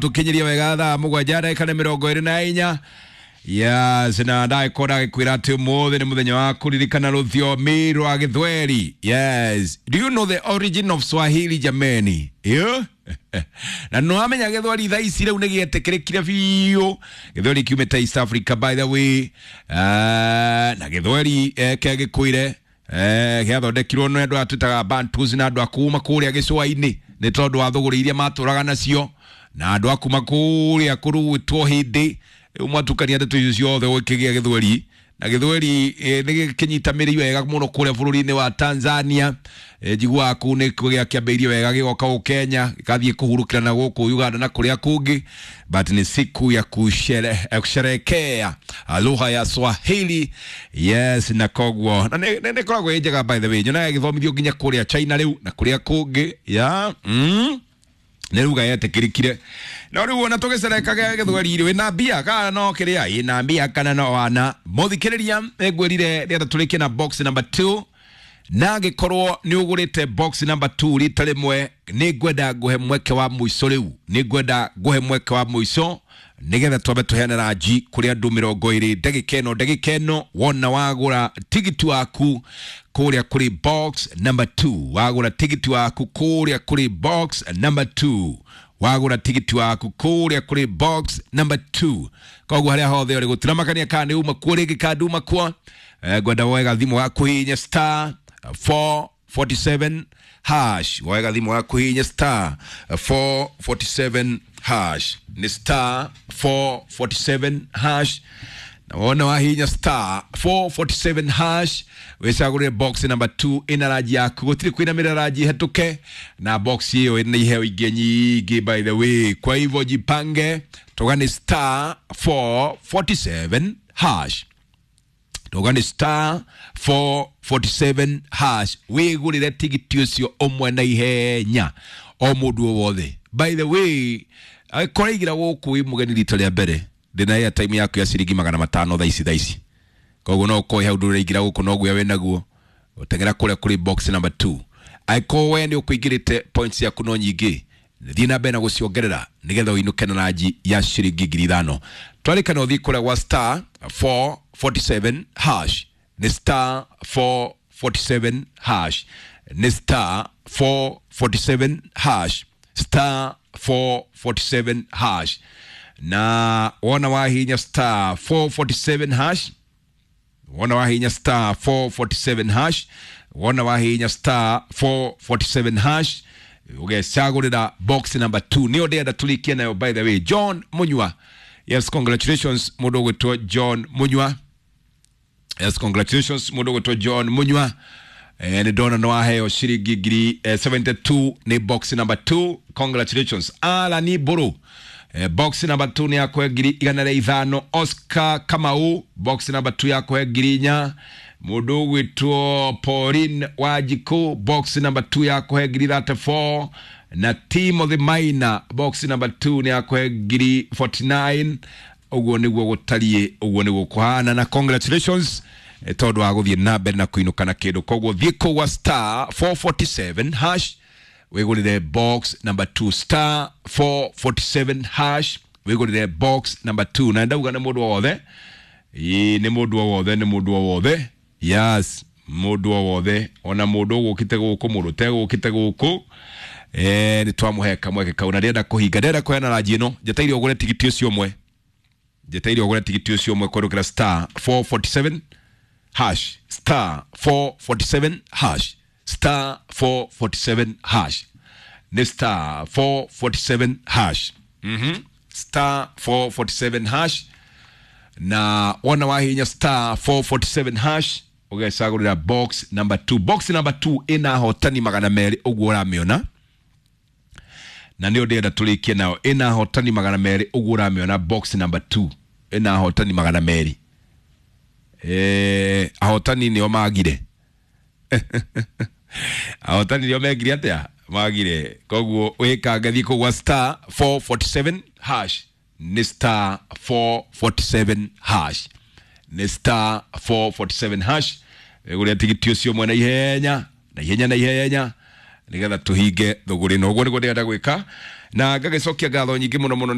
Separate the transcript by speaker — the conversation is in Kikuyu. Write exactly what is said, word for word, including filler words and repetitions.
Speaker 1: Tukinyiria wega thaa mugwanja ndagika nĩ mĩrongo ĩrĩ na inya. Yes, na ndagĩkorwo ndagĩkwĩra atĩ ũmũthĩ nĩ mũthenya wa kũririkana rũthiomi rwa Gĩthweri. Yes, do you know the origin of Swahili, jameni? Yeah? Na no amenya Gĩthweri thaa ici rĩu nĩ gĩetĩkĩrĩkire biũ. Gĩthweri kiumĩte East Africa, by the way. uh, na Gĩthweri eh, kĩa gĩkwĩre eh, gĩathondekirwo nĩ andũ aya twĩtaga Bantus na andũ a kuma kũrĩa gĩcũa-inĩ nĩ tondũ wa thũgũrĩ iria matũraga nacio na andũ a kuma kũrĩa kũrugĩtwo hĩndĩ rĩu mwatukania ndeto icio ciothe gũkĩgĩa Gĩthweri. Na Gĩthweri eh, nĩ gĩkĩnyitamĩrĩire wega mũno kũrĩa bũrũri-inĩ wa Tanzania. eh, njiguaga kũu nĩ gĩakĩambĩrĩirie wega gĩgoka gũkũ Kenya, gĩgathiĩ kũhurũkĩra na gũkũ Uganda na kũrĩa kũngĩ, but ni siku ya kushere, eh, kusherekea lugha ya Swahili. Yes, na koguo na nĩ nĩ- nĩ ĩkoragwo ĩ njega, by the way. Nyonaga ĩgĩthomithio nginya kũrĩa China rĩu na kũrĩa kũngĩ ya mm nä ruga yetäkä no rä u ona tå gä cerekaga Gĩthweri rä wä mbia kana no kä rä a ä mbia kana no wana må thikä rä ria. Nä ngwä rire rä tå rä kie na box number two, na angä korwo nä å gå rä te box number two rita rä mwe, nä ngwenda ngũhe mweke wa mũico. Rĩu nä ngwenda ngũhe mweke wa mũico nĩgetha twambe tũheane ranji kũrĩ andũ mĩrongo ĩrĩ ndagĩka ĩno. Ndagĩka ĩno wona wagũra tigiti waku kũrĩa kũrĩ box number two, wagũra tigiti waku kũrĩa kũrĩ box number two, wagũra tigiti waku kũrĩa kũrĩ box number two, koguo harĩa hothe ũrĩ gũtiramakania kana nĩ uma kuo rĩngĩ kana nduma kuo, eh, ngwenda woe gathimũ gaku hihinya star four forty-seven hash. Woe gathimũ gaku hihinya star four forty-seven hash, nĩ star four forty-seven hash. Na wona wahinya star four forty-seven hash, wĩcagũrĩre box number two ĩna ranji yaku. Gũtirĩ kwĩnamĩrĩra ranji hetũke na box ĩyo ĩna iheo ingĩ nyingĩ, by the way. Kwa hivyo jipange, toga nĩ star four forty-seven hash, toga nĩ star four forty-seven hash, wĩgũrĩre tigiti ũcio ũmwe na ihenya o mũndũ o wothe. By the way, angĩkorwo aigĩra gũkũ wĩ mũgeni rita rĩa mbere, ndĩna airtime yaku ya ciringi magana matano thaa ici thaa ici. Koguo no ũkorwo hau ndũraingĩra gũkũ no guoya wĩnaguo, ũteng'era kũrĩa kũrĩ box number two. Angĩkorwo we nĩ ũkũingĩrĩte, points yaku no nyingĩ, thiĩ na mbere na gũciongerera nĩgetha ũinũke na ranji ya ciringi ngiri ithano. Twarĩkana ũthiĩ kũrĩa gwa star four forty-seven hash, nĩ star four forty-seven hash, nĩ star four forty-seven hash, star four forty-seven hash. Na wona wahinya star four forty-seven hash, wona wahinya star four forty-seven hash, wona wahinya star four forty-seven hash, ũgecagũrĩra box number two, nĩyo ndĩrenda tũrĩkie nayo. By the way, John Munyua, yes, congratulations mũndũ ũgwĩtwo John Munyua. Yes, congratulations mũndũ ũgwĩtwo John Munyua. Eh, nĩ ndona nĩ waheo ciringi ngiri eh, mĩrongo mũgwanja na igĩrĩ nĩ box number two. Congratulations. Alani Mbũrũ, eh, box number two nĩ yakũhe ngiri igana rĩa ithano. Oscar Kamau, box number two yakũhe ngiri inya. Mũndũ ũgwĩtwo Pauline Wanjikũ, box number two yakũhe ngiri mĩrongo ĩtatũ na inya. Na Timothy Maina, box number two nĩ yakũhe ngiri mĩrongo ĩna na inya. Ũguo nĩguo gũtariĩ, ũguo nĩguo kũhana, na congratulations eh, tondũ wa gũthiĩ na mbere na kũinũka na kĩndũ. Koguo thiĩ kũu gwa star four forty-seven hash, wĩgũrĩre box number two, star four forty-seven hash, wĩgũrĩre box number two. Na ndauga nĩ mũndũ o wothe. Ĩĩ, nĩ mũndũ o wothe, nĩ mũndũ o wothe. Yes, mũndũ o wothe, ona mũndũ ũgũkĩte gũkũ, mũndũ ũtegũkĩte gũkũ, eh, nĩ twamũhe kamweke kau. Na ndĩrenda kũhinga, ndĩrenda kũheana ranji ĩno, njeteire ũgũre tigiti ũcio ũmwe, njeteire ũgũre tigiti ũcio ũmwe kũrũkĩra star four forty-seven hash, star four forty-seven hash, star four forty-seven hash, nĩ star four forty-seven hash, mhm star four forty-seven hash. Na wona wahinya star four forty-seven hash, ũgecagũrĩra box number two. Box number two ĩna ahotani magana merĩ, ũguo ũramĩona, na nĩyo ndĩrenda tũrĩkie nayo. Ĩna ahotani magana merĩ, ũguo ũramĩona. Box number two ĩna ahotani magana merĩ. Eh, ahotani nĩo magire, ahotani nĩo mekire atĩa? Magire. Koguo wĩkange, thiĩ kũu gwa star four forty-seven hash, nĩ star four forty-seven hash, nĩ star four forty-seven hash, gũrĩa tigiti ũcio mwena ihenya na ihenya na ihenya nĩgetha tũhinge thũgũrĩ ĩno. Ũguo nĩguo ndĩrenda gwĩka. Na ngagĩcokia ngatho nyingĩ mũno mũno.